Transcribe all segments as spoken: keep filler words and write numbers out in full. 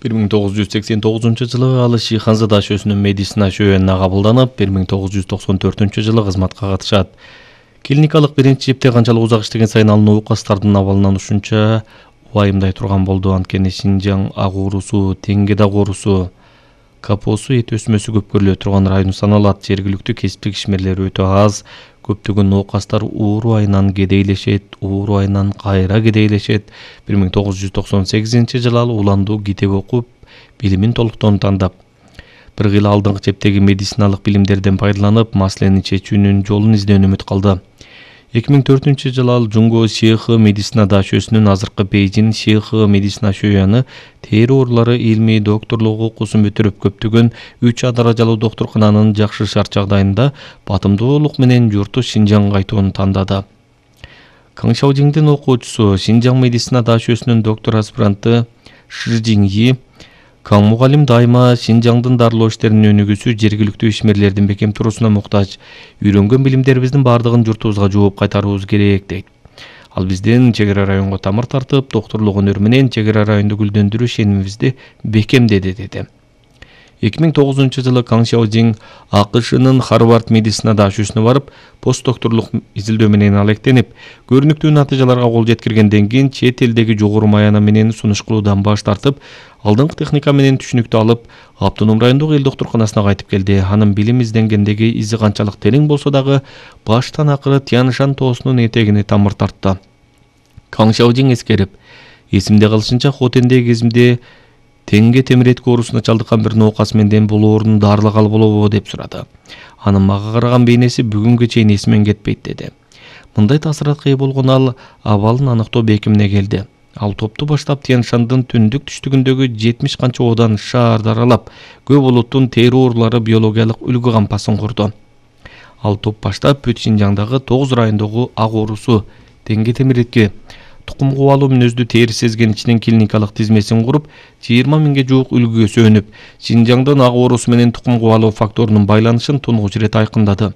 бир миң тогуз жүз сексен тогузунчу жылы ал Шиханза дашөсүнүн медицина шөбүнүнө кабылданып, бир миң тогуз жүз токсон төртүнчү жылы кызматка катышат. Клиникалык биринчи жепте канчалык узак иштеген сайын ал оокастардын абалынан ушунча убайымдай турган болду. Анткени Шинжаң ак оорусу, Теңге даг оорусу, капосу эт өсмөсү көп көрүлө турган район саналат. Жергиликтүү кесиптик ишмерлер өтө аз. Көптөгөн оокастар ууру айынан кедейлешет, ууру айынан кайра кедейлешет. бир миң тогуз жүз токсон сегизинчи жылы ал уландуу китеп окуп, билимин толуктон тандап, бир кыйла алдыңкы чептеги медициналык билимдерден пайдаланып, маселени чечүүнүн жолун издөөнө үмүт кылды. эки миң төртүнчү жылы ал Жунго Шейхы медицина дашөсүнүн азыркы Бейжин Шейхы медицина шөбүнү тери оорулары илмий докторлук окуусун бүтүрүп, көптөгөн үч А даражалуу доктуркананын жакшы шарт жагдайында батымдуулук менен журту Шинжаңга кайтууну тандады. Каң Шаожиңдин окуучусу, Шинжаң медицина дашөсүнүн доктор аспиранты Ши Жиңйи, Каң мугалим дайыма Шинжаңдын дарылоо иштеринин өнүгүүсү жергиликтүү ишмерлердин бекем туруусуна муктаж. Үйрөнгөн билимдерибиздин бардыгын журтубузга жооп кайтарыбыз керек дейт. Ал биздин чек ара районго тамыр тартып, доктурлук өнөр менен чек ара районду гүлдөндүрүү ишенимибизди бекемдеди деди. эки миң тогузунчу жылы Каң Шаожиң АКШнын Харвард медицина дашөсүнө барып, постдокторлук изилдөө менен алектенип, көрүнүктүү натыйжаларга кол жеткиргенден кийин чет элдеги жогору маяна менен сунуш кылуудан баш тартып, алдыңкы техника менен түшүнүктү алып, Автоном райондук эл доктурканасына кайтып келди. Анын билим изденгендеги изи канчалык терең болсо дагы, баштан акыры Тяньшань тоосунун этегине тамыр тартты. Каң Шаожиң эскерип, эсимде калышынча Хотендеги кезимде Теңге темиретки оорусуна чалдыккан бир ноокас менден бул оорунун дарылагалы болобу деп сурады. Анын мага караган бейнеси бүгүнгө чейин эсимен кетпейт деди. Мындай таасиратка ээ болгон ал абалын аныктоо бекимине келди. Ал топту баштап Тяньшандын түндүк түштүгүндөгү жетимиш канча оодан шаарды аралап, көп улуттун тери оорулары биологиялык үлгү кампасын курду. Ал топ баштап бүт Шинжаңдагы тогуз райондогу ак оорусу, Теңге темиретки, тукум кубалуу мүнөздүү тери сезгеничинин клиникалык тизмесин куруп, жыйырма миңге жуук үлгүгө сүйөнүп, Шинжаңдын ак оорусу менен тукум кубалоо факторунун байланышын тунугуч ирет айкындады.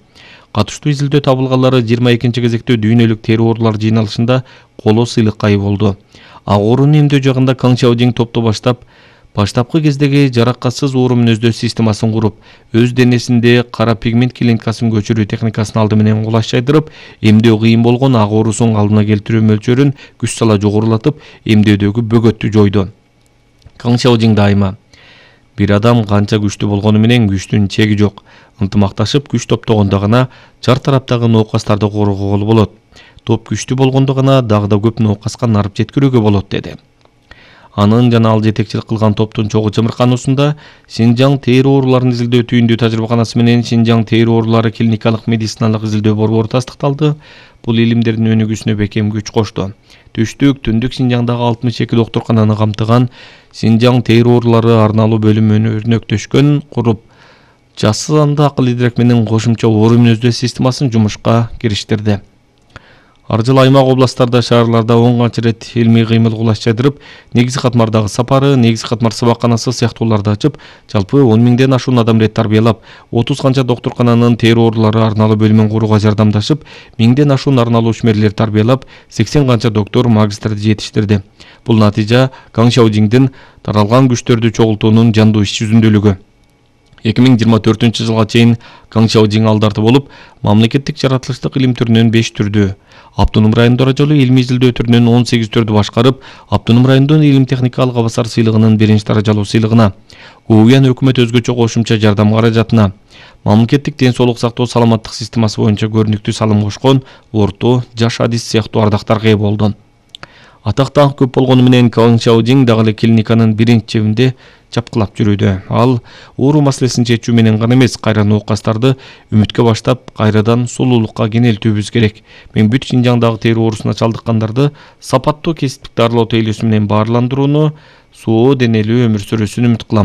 Катыштуу изилдөө табылганлары жыйырма экинчи кезекте дүйнөлүк тери оорулар жыйналышында коло сыйлыкка ээ болду. Ак оорууну эмдөө жагында Каң Шаожиң топту баштап, баштапкы кездеги жаракатсыз оору мүнөздөө системасын куруп, өз денесинде кара пигмент клиникасын көчүрүү техникасын алды менен кулаш жайдырып, эмдөө кыйын болгон ак оорусунун алдына келтирүү мөлчөрүн күч сала жогорулатып, эмдөөдөгү бөгөттү жойду. Каң Шаожиң дайыма: бир адам канча күчтүү болгону менен күчтүн чеги жок. Ынтымакташып күч топтогондо гана жар тараптагы ноокастарды коргоого болот. Топ күчтүү болгондо гана дагы да көп ноокаска нарып жеткирүүгө болот деди. Анын жана ал жетекчилик кылган топтун чогуу чымыркануусунда Шинжаң тери ооруларын изилдөө түйүндүү тажрыйбаканасы менен Шинжаң тери оорулары клиникалык медициналык изилдөө борбору тастыкталды. Бул илимдердин өнүгүүсүнө бекем күч кошту. Түштүк, түндүк Шинжаңдагы алтымыш эки доктуркананы камтыган Шинжаң тери оорулары арналуу бөлүмүн өрнөктөшкөн куруп, жасыл анда акыл идрек менен кошумча оору мүнөздөө системасын жумушка кириштирди. Ар жылы аймак областтарда, шаарларда он канча рет илмий кыймыл кулаш жайдырып, негизги катмардагы сапары, негизги катмар сабакканасы сыяктууларды ачып, жалпы он миңден ашуун адам рет тарбиялап, отуз канча доктуркананын тери оорулары арналуу бөлүмүн курууга жардамдашып, миңден ашуун арналуу ишмерлер тарбиялап, сексен канча доктор, магистрди жетиштирди. Бул натыйжа Каң Шаожиңдин таралган күчтөрдү чогултуунун жандуу иш жүзүндөлүгү. эки миң жыйырма төртүнчү жылга чейин Каң Шаожиң алдарты болуп, мамлекеттик жаратылыштык илим түрүнөн беш түрдү, Автоном район даражалуу илмий изилдөө түрүнөн он сегиз түрдү башкарып, Автоном райондун илим техникалык абасар сыйлыгынын биринчи даражалуу сыйлыгына, Гууян өкмөт өзгөчө кошумча жардам каражатына, мамлекеттик ден соолук сактоо саламаттык системасы боюнча көрүнүктүү салым кошкон Орто, Жаш Адис сыяктуу ардактарга ээ болду. Атак даңк көп болгону менен Каң Шаожиң дагы эле клиниканын биринчи чебинде чапкылап жүрүүдө. Ал оору маселесин чечүү менен гана эмес, кайра ноокастарды үмүткө баштап, кайрадан сулуулукка кенелтүүбүз керек. Мен бүт Шинжаңдагы тери оорусуна чалдыккандарды сапаттуу кесиптик дарылоо тейлөөсү менен баарландырууну, соо денелүү өмүр сүрүүсүн үмүт кылам.